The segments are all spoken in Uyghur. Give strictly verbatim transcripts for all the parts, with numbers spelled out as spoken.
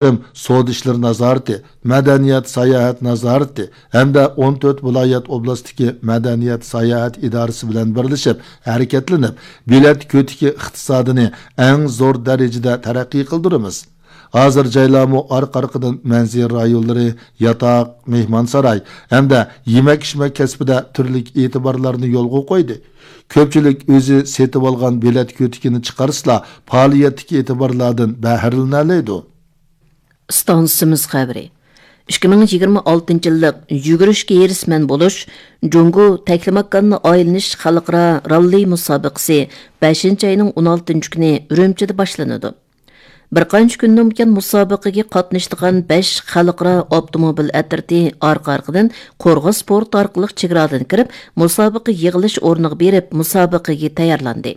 سودا ئىشلىرى نازارىتى، مەدەنىيەت ساياھەت نازارىتى ھەمدە ئون تۆت ۋىلايەت ئوبلاستتىكى مەدەنىيەت ساياھەت ئىدارىسى بىلەن بىرلىشىپ ھەرىكەتلىنىپ، بېلەت كۆتىكى ئىقتىسادىنى ئەڭ زور دەرىجىدە تەرەققىي قىلدۇرىمىز. ھازىر جايلارمۇ ئارقا-ئارقىدىن مەنزىرە رايونلىرى، ياتاق، مېھمانساراي ھەمدە يېمەك-ئىچمەك كەسپىدە تۈرلۈك ئېتىبارلارنى يولغا قويدى. كۆپچىلىك ئۆزى سېتىۋالغان بېلەت كۆتىكىنى چىقارسىلا، پائالىيەتتىكى ئېتىبارلاردىن بەھرىلىنەلەيدۇ. ئىستانسىمىز خەۋىرى. ئىككى مىڭ يىگىرمە ئالتىنچى يىللىق يۈگۈرۈشكە ھېرىسمەن بولۇش جۇڭگو تەكلىماكاننى ئايلىنىش خەلقئارا راللى مۇسابىقىسى بەشىنچى ئاينىڭ ئون ئالتىنچى كۈنى ئۈرۈمچىدە باشلىنىدۇ. بىر قانچە كۈندىن بۇيان مۇسابىقىگە قاتنىشىدىغان بەش خەلقئارا ئاپتوموبىل ئەترىتى ئارقا-ئارقىدىن قورغاس پورتى ئارقىلىق چېگرادىن كىرىپ، مۇسابىقە يىغىلىش ئورنىغا بېرىپ، مۇسابىقىگە تەييارلاندى.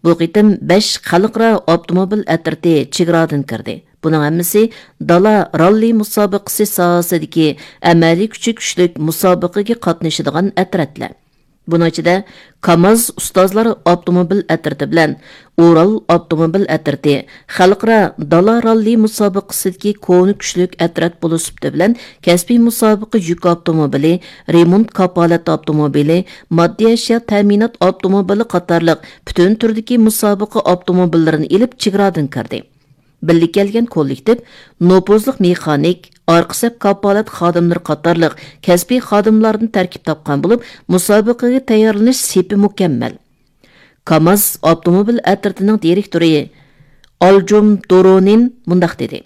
بۇ قېتىم بەش خەلقئارا ئاپتوموبىل ئەترىتى چېگرادىن كىردى. بۇنىڭ ھەممىسى دالا راللى مۇسابىقىسى ساھەسىدىكى ئەمەلىي كۈچى كۈچلۈك مۇسابىقىگە قاتنىشىدىغان ئەترەتلەر. بۇنىڭ ئىچىدە كاماز ئۇستازلار ئاپتوموبىل ئەترىتى بىلەن ئورال ئاپتوموبىل ئەترىتى خەلقئارا دالا راللى مۇسابىقىسىدىكى كونا كۈچلۈك ئەترەت بولۇش سۈپىتى بىلەن كەسپىي مۇسابىقە يۈك ئاپتوموبىلى، رېمونت كاپالەت ئاپتوموبىلى، ماددىي ئەشيا تەمىنات ئاپتوموبىلى قاتارلىق پۈتۈن تۈردىكى مۇسابىقە ئاپتوموبىللىرىنى ئېلىپ چېگرادىن كىردى. بىللە كەلگەن كوللېكتىپ نوپۇزلۇق مېخانىك، ئارقا سەپ كاپالەت خادىملىرى قاتارلىق كەسپىي خادىملاردىن تەركىب تاپقان بولۇپ، مۇسابىقىگە تەييارلىنىش سېپى مۇكەممەل. كاماز ئاپتوموبىل ئەترىتىنىڭ دىرېكتورى ئالجۇم دورونىن مۇنداق دېدى: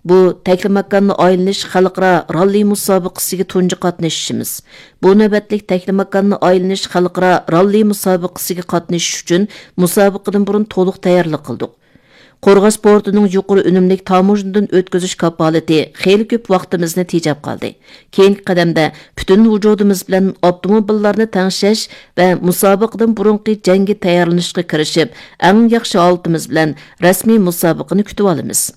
«بۇ تەكلىماكاننى ئايلىنىش خەلقئارا راللى مۇسابىقىسىگە تۇنجى قاتنىشىشىمىز. بۇ نۆۋەتلىك تەكلىماكاننى ئايلىنىش خەلقئارا راللى مۇسابىقىسىگە قاتنىشىش ئۈچۈن مۇسابىقىدىن بۇرۇن تولۇق تەييارلىق قىلدۇق. قورغاس پورتىنىڭ يۇقىرى ئۈنۈملۈك تاموژنىدىن ئۆتكۈزۈش كاپالىتى خېلى كۆپ ۋاقتىمىزنى تېجەپ قالدى. كېيىنكى قەدەمدە پۈتۈن ۋۇجۇدىمىز بىلەن ئاپتوموبىللارنى تەڭشەش ۋە مۇسابىقىدىن بۇرۇنقى جەڭگە تەييارلىنىشقا كىرىشىپ، ئەڭ ياخشى ھالىتىمىز بىلەن رەسمىي مۇسابىقىنى كۈتۈۋالىمىز.»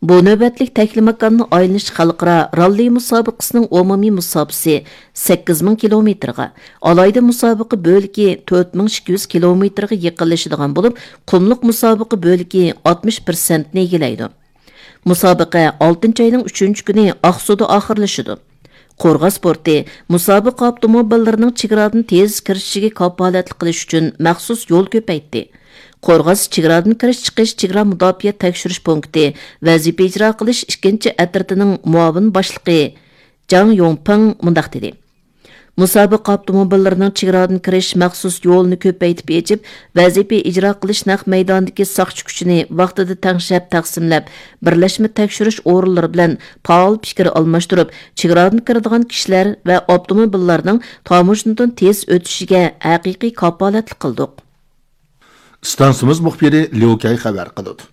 بۇ نۆۋەتلىك تەكلىماكاننى ئايلىنىش خەلقئارا راللى مۇسابىقىسىنىڭ ئومۇمىي مۇساپىسى سەككىز مىڭ كىلومېتىرغا، ئالاھىدە مۇسابىقە بۆلىكى تۆت مىڭ ئىككى يۈز كىلومېتىرغا يېقىنلىشىدىغان بولۇپ، قۇملۇق مۇسابىقە بۆلىكى ئاتمىش پىرسەنتنى ئىگىلەيدۇ. مۇسابىقە ئالتىنچى ئاينىڭ ئۈچىنچى كۈنى ئاقسۇدا ئاخىرلىشىدۇ. قورغاس پورتى مۇسابىقە ئاپتوموبىللىرىنىڭ چېگرادىن تېز كىرىشىشىگە كاپالەتلىك قىلىش ئۈچۈن مەخسۇس يول كۆپەيتتى. قورغاس چېگرادىن كىرىش چىقىش چېگرا مۇداپىئە تەكشۈرۈش پونكىتى ۋەزىپە ئىجرا قىلىش ئىككىنچى ئەترىتىنىڭ مۇئاۋىن باشلىقى جاڭ يوڭپىڭ مۇنداق دېدى: «مۇسابىقە ئاپتوموبىللىرىنىڭ چېگرادىن كىرىش مەخسۇس يولىنى كۆپەيتىپ ئېچىپ، ۋەزىپە ئىجرا قىلىش نەق مەيدانىدىكى ساقچى كۈچىنى ۋاقتىدا تەڭشەپ تەقسىملەپ، بىرلەشمە تەكشۈرۈش ئورۇنلىرى بىلەن پائال پىكىر ئالماشتۇرۇپ، چېگرادىن كىرىدىغان كىشىلەر ۋە ئاپتوموبىللارنىڭ تاموژنىدىن تېز ئۆتۈشىگە ھەقىقىي كاپالەتلىك قىلدۇق.» ئىستانسىمىز مۇخبىرى ليۇ كەي خەۋەر قىلىدۇ.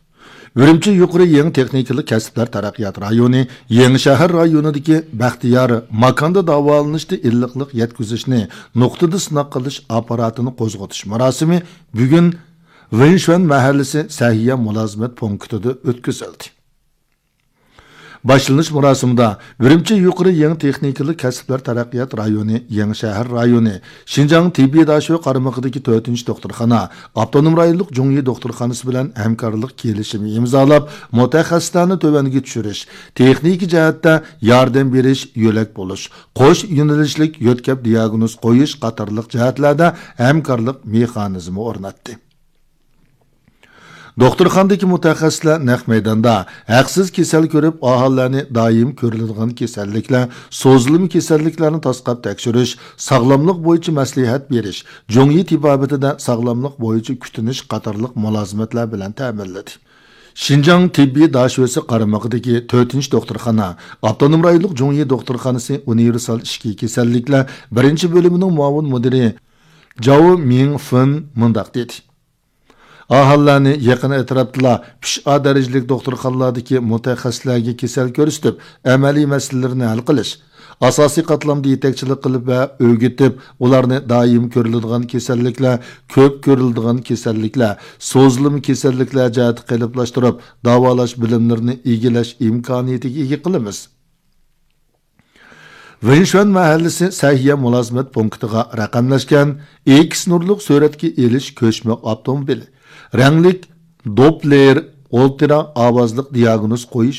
ئۈرۈمچى يۇقىرى يېڭى تېخنىكىلىق كەسىپلەر تەرەققىيات رايونى يېڭى شەھەر رايونىدىكى بەختىيار ماكاندا داۋالىنىشتا ئىللىقلىق يەتكۈزۈشنى نۇقتىدا سىناق قىلىش ئاپپاراتىنى قوزغىتىش مۇراسىمى بۈگۈن ۋېنشۈەن مەھەللىسى سەھىيە مۇلازىمەت پونكىتىدا ئۆتكۈزۈلدى. باشلىنىش مۇراسىمىدا ئۈرۈمچى يۇقىرى يېڭى تېخنىكىلىق كەسىپلەر تەرەققىيات رايونى، يېڭى شەھەر رايونى، شىنجاڭ تېببىي داشۆ قارمىقىدىكى تۆتىنچى دوختۇرخانا، ئاپتونوم رايونلۇق جۇڭيى دوختۇرخانىسى بىلەن ھەمكارلىق كېلىشىمى ئىمزالاپ، مۇتەخەسسىسلەرنى تۆۋەنگە چۈشۈرۈش، تېخنىكا جەھەتتە ياردەم بېرىش، يۆلەك بولۇش، قوش يۆنىلىشلىك يۆتكەپ دىياگنوز قويۇش قاتارلىق جەھەتلەردە ھەمكارلىق مېخانىزمى ئورناتتى. دوختۇرخانىدىكى مۇتەخەسسىسلەر نەق مەيداندا ھەقسىز كېسەل كۆرۈپ، ئاھالىلەرنى دائىم كۆرۈلىدىغان كېسەللىكلەر، سوزۇلما كېسەللىكلەرنى تاسقاپ تەكشۈرۈش، ساغلاملىق بويىچە مەسلىھەت بېرىش، جۇڭيى تېبابىتىدە ساغلاملىق بويىچە كۈتۈنۈش قاتارلىق مۇلازىمەتلەر بىلەن تەمىنلىدى. شىنجاڭ تېببىي داشۆسى قارمىقىدىكى تۆتىنچى دوختۇرخانا، ئاپتونوم رايونلۇق جۇڭيى دوختۇرخانىسى ئۇنىۋېرسال ئىچكى كېسەللىكلەر بىرىنچى بۆلۈمىنىڭ مۇئاۋىن مۇدىرى جاۋ مىڭفېن مۇنداق دېدى. ئاھالىلەرنى يېقىن ئەتراپتىلا ئۈچ ئا دەرىجىلىك دوختۇرخانىلاردىكى مۇتەخەسسىسلەرگە كېسەل كۆرسىتىپ، ئەمەلىي مەسىلىلىرىنى ھەل قىلىش، ئاساسىي قاتلامدا يېتەكچىلىك قىلىپ ۋە ئۆگىتىپ، ئۇلارنى دائىم كۆرۈلىدىغان كېسەللىكلەر، كۆپ كۆرۈلىدىغان كېسەللىكلەر، سوزۇلما كېسەللىكلەر جەھەتتە قېلىپلاشتۇرۇپ، داۋالاش بىلىملىرىنى ئىگىلەش ئىمكانىيىتىگە ئىگە قىلىمىز. ۋېنشۈەن مەھەللىسى سەھىيە مۇلازىمەت پونكىتىغا رەقەملەشكەن ئېكس نۇرلۇق سۈرەتكە ئېلىش كۆچمە ئاپتوموبىلى، رەڭلىك دوپلېر ئولتۇرا ئاۋازلىق دىياگنوز قويۇش